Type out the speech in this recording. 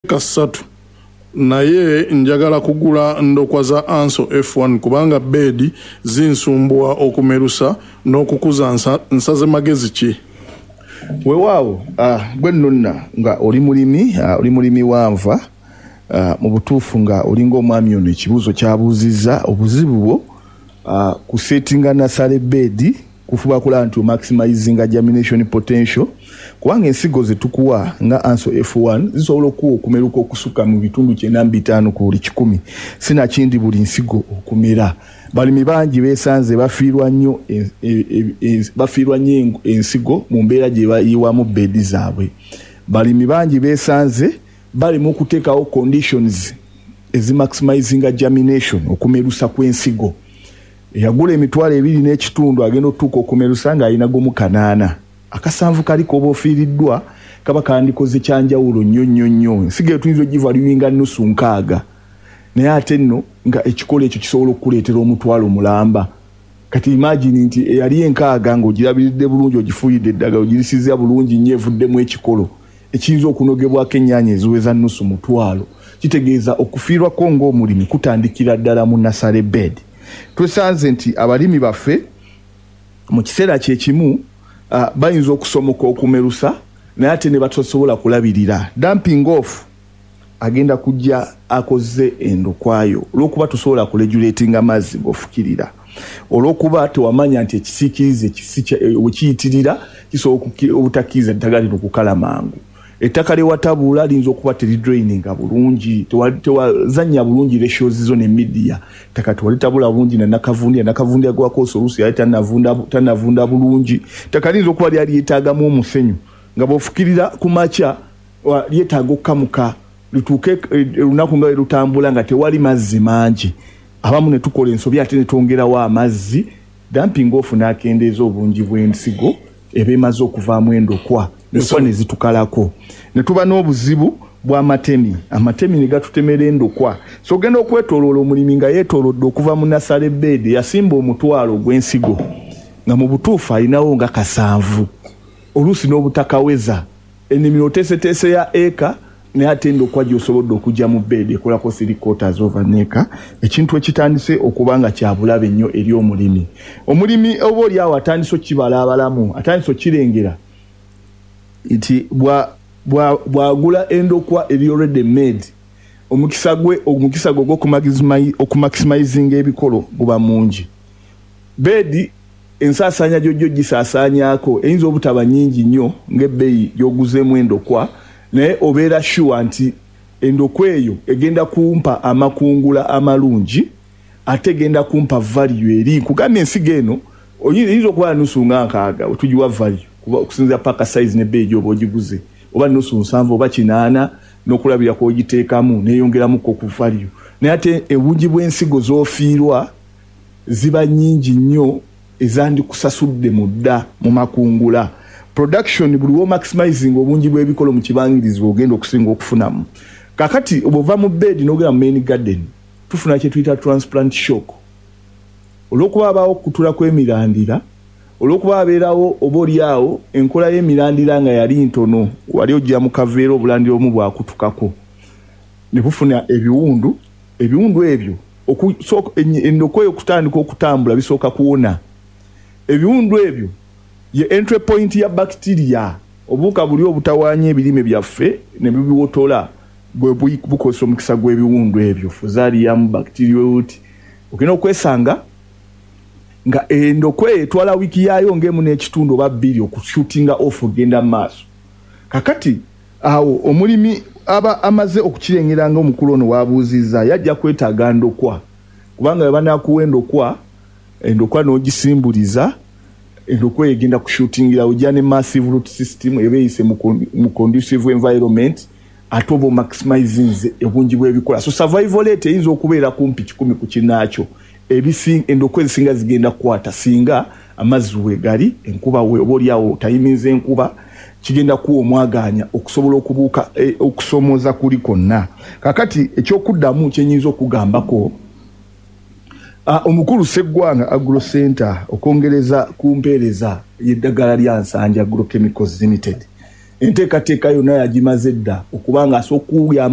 Eka 3 naye njagala kugula ndokwa za Anso F1 kubanga beedi zinsumbuwa okumerusa n'okukuza nsaze magezi ki? Weewaawo gwe nno nga oli mulimi, oli mulimi wa nva, mu butuufu nga olinga omwami ono ekibuuzo ky'abuuzizza, obuzibu bwo kusettinga nursery bed kufuba kulaba nti omaximizinga germination potential kubanga ensigo ze tukuwa nga Anso F1 zisobola okuwa okumeruka okusukka mu bitundu 95 ku buli 100, sinakindi buli nsigo okumera. Balimi bangi beesanze bafiirwa nnyo bafiirwa nnyo ensigo mu mbeera gye bayiwamu bedi zaabwe. Balimi bangi beesanze balema okuteekawo conditions ezimaximizinga germination, okumerusa kw'ensigo. Eyagula 25,000 agenda okutuuka okumerusa ng'alina gumu 800. Akasanvu kali k'oba ofiiriddwa kaba kandikoze kyanjawulo nnyo nnyo nnyo. Ensigo eyo tuyinza ogivaluinga nusu nkaaga, naye ate nno nga ekikolo ekyo kisobola okukuleetera omutwalo mulamba. Kati imagine nti eyali enkaaga ng'ogirabiridde bulungi, ogifuuyidde eddagala, ogirisizza bulungi nnyo, evuddemu ekikolo ekiyinza okunogebwako ennyaanya eziweza nusu mutwalo. Kitegeeza okufiirwako ng'omulimi kutandikira ddala mu nursery bed. Twesanze nti abalimi baffe mu kiseera kye kimu bayinza okusomoka okumerusa naye ate ne batasobola kulabirira. Damping off agenda kujja akoze endokwayo olw'okuba tosobola kuregulatinga mazzi g'ofukirira, olw'okuba tewamanya nti ekisiikirize bwe kiyitirira kisobola obutakkiriza ddagala lino kukala mangu. Ettaka lye watabuula liyinza okuba teridraininga bulungi, tewazannya bulungi ratios zo ne media. Ettaka tewalitabula bulungi na nakavundira, nakavundira gwe wakozesa oluusi yali tannavunda bulungi. Ettaka liyinza okuba lyali lyetaagamu omusenyu nga bw'ofukirira ku makya lyetaaga okukamuka lituuke olunaku nga lutambula nga tewali mazzi mangi. Abamu ne tukola ensobi ate ne twongerawo amazzi, damping off n'akendeeza obungi bw'ensigo eba emaze okuvaamu endokwa, endokwa ne zitukalako. Ne tuba n'obuzibu bw'amatemi, amatemi ne gatutemera endokwa. So ogenda okwetooloola omulimi nga yeetoolodde okuva mu nursery bed yasimba 1,000 ogw'ensigo nga mu butuufu alinawo nga 7, oluusi n'obutakaweza. Ennimiro oteeseteese ya eka, naye ate endokwa gy'osobodde okujja mu bed ekolako 3/4 of an acre, ekintu ekitandise okuba nga kya bulabe nnyo eri omulimi. Omulimi oba oli awo atandise okukibalaabalamu, atandise okukirengera nti bw'agula endokwa eri already made, omukisa gwe ogw'okumaximizinga ebikolo guba mungi. Bedi ensaasaanya gy'ojja ogisaasaanyaako eyinza obutaba nnyingi nnyo ng'ebbeeyi gy'oguzeemu endokwa, naye obeera sure nti endokwa eyo egenda kumpa amakungula amalungi ate egenda kumpa value eri. Nkugambye ensigo eno oyinza okuba nusu nga nkaaga wetugiwa value okusinziira pack size n'ebbeeyi gy'oba ogiguze, oba nusu 70 oba 80 n'okulabira kw'ogiteekamu neeyongeramuko ku value, naye ate obungi bw'ensigo z'ofiirwa ziba nnyingi nnyo ezandikusasudde mu dda mu makungula. Production, buli w'omaximizing obungi bw'ebikolo mu kibangirizi ogenda okusinga okufunamu. Kakati bw'ova mu bed n'ogenda mu main garden, tufuna kye tuyita transplant shock olw'okuba abaawo okukutula kw'emirandira, olw'okuba abeerawo oba oli awo enkola y'emirandira nga yali ntono. Wali ojja mu kaveera, obulandira obumu bwakutukako ne bufuna ebiwundu. Ebiwundu ebyo, endokwa eyo okutandika okutambula bisooka kuwona. Ebiwundu ebyo ye entry point ya bacteria, obuwuka buli obutawaanya ebirime byaffe ne bubiwotola bwe bukozesa omukisa gw'ebiwundu ebyo, fusarium, bacterial wilt. Ogenda okwesanga nga endokwa eyo etwala wiiki yaayo ng'emu n'ekitundu oba 2 okushootinga off ogenda mu maaso. Kakati awo omulimi aba amaze okukirengera nga omukulu ono waabuuzizza, yajja kwetaaga ndokwa, kubanga bwe banaakuwa endokwa, endokwa n'ogisimbuliza, endokwa eyo egenda kushootingira ojja ne massive root system eba eyise mu conducive environment, ate oba omaximizinze obungi bw'ebikola. So survival rate eyinza okubeera kumpi 100 ku kinnaakyo. Endokwa ezisinga zigenda kukwata singa amazzi weegali, enkuba oba oli awo tayiminza enkuba, kigenda kuwa omwagaanya okusobola okubuuka okusoomooza kuli kwonna. Kakati ekyokuddamu kyenyinza okugambako omukulu Sseggwanga Agro Center okwongereza ku mpeereza y'eddagala lya Nsanja Agrochemicals Limited. Enteekateeka yonna yagimaze dda, okubanga asobola okuyamba.